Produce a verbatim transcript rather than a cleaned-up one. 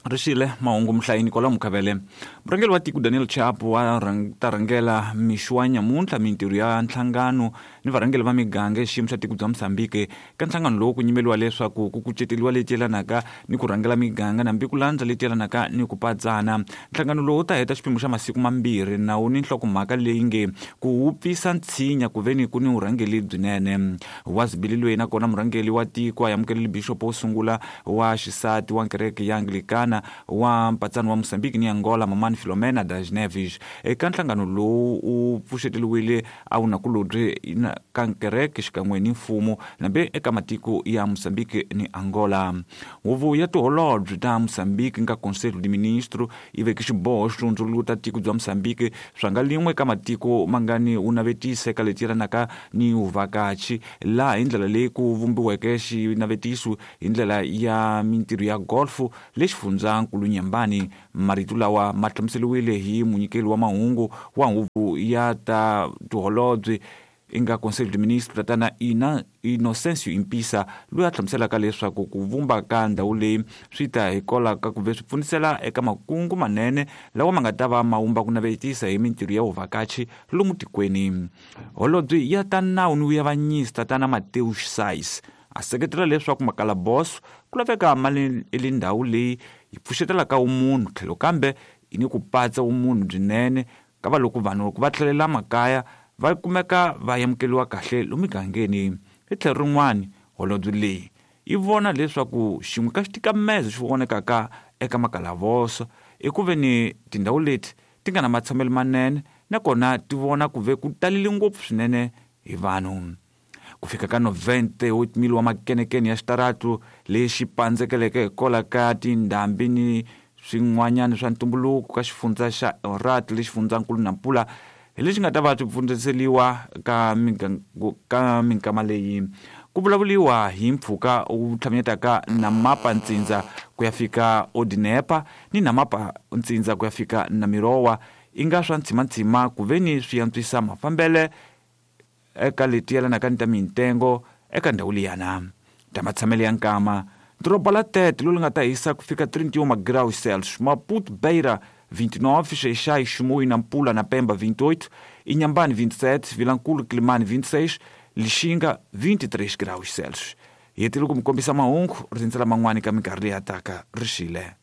Rixile mahungu muhlayini kwalomu Mukhavele. Murhangeri wa tiko Daniel Chapo wa ta rhangela mixo wa nyamuntlha mintirho ya nhlangano ni varhangeri va miganga xiyimo xa tiko bya Mozambique. Ka nhlangano lowu ku nyimeliwa leswaku ku kuceteriwa leti yelanaka ni ku rhangela miganga nambi ku landza leti yelanaka ni ku padzana. Nhlangano lowu wu ta heta xiphemu xa masiku mambirhi nawu ni nhlokomhaka leyi nge ku wupfisa ntshinya ku veni ku ni vurhangeri byinene. Wa zibili loyi nakona murhangeri wa tiko a amukelele bixopo wo sungula wa xisati wa kereke ya Anglikana wa mpatsano wa Mozambique ni Angola Mamani Filomena das Neves. Eka nhlangano lowu u pfuxeteliwile a wu nakulobye ka kereke xikan'we ni mfumo nambe eka matiko ya Mozambique ni Angola. Huvo ya tiholobye ta Mozambique nga Conselho de Ministro yi veke xiboho xo hundzuluta tiko bya Mozambique swa nga lin'we ka matiko mangani wu navetisa eka leti yelanaka ni vuvhakachi, laha hi ndlela leyi ku vumbiweke xinavetiso hi ndlela ya mintirho ya golf le xifundzankulu Nyambani. Marito lawa ma hlamuseriwile hi munyikeli wa mahungu wa huvo ya ta tiholobye inga Conselho de Ministro tatana Ina Inocencio Impisa, loyi a hlamuselaka leswaku ku vumba ka ndhawu leyi swi ta hikwalaho ka ku ve swi pfunisela eka makungu manene lawa ma nga ta va ma wumba ku navetisa hi mintirho ya vuvhakachi lomu tikweni. Holobye ya ta nawu ni vuavanyisi tatana Mateus Sais a seketela leswaku makalaboso ku laveka mali le ndhawu leyi yi pfuxetelaka vumunhu tlhelo kambe yi ni ku patsa vumunhu byinene ka va loko vanhu loko va tlhelela makaya va kumeka va amukeriwa kahle lomu migangeni. Hi tlhelo rin'wani holobye leyi yi vona leswaku xin'we ka xitikamezo xi vonekaka eka makalavoso i ku ve ni tindhawu leti ti nga na matshamelo manene nakona ti vona ku ve ku talele ngopfu swinene hi vanhu. Ku fika ka noventa oito mil wa makenekene ya xitaratu lexi pandzekeleke hikwalaho ka tindhambi ni swin'wanyana swa ntumbuluko ka xifundza xa Erat le xifundzankulu Nampula hi lexi nga ta va swi pfundziseliwa ka ka minkama leyi. Ku vulavuriwa hi mpfhuka wu tlhamanyetaka Namapa ntsindza ku ya fika Odinepa ni Namapa ntsindza ku ya fika Namirowa i nga swa ntsimantsima ku ve ni swi antswisa mafambele eka leti yelanaka ni ta mintengo eka ndhawu liyana. Ta matshamelo ya nkama doroba la Tete lowu nga ta hisa ku fika trinta e um graus Celsius, Maputo, Beira vinte e nove, Xai-Xai, Chimoio, Nampula na Pemba vinte e oito, Inhambane vinte e sete, Vilankulo, Quelimane vinte e seis, Lixinga vinte e três graus Celsius. Hi hetile ku mi kombisa mahungu rindzela man'wani ka minkarhi leyi taka. Rixile.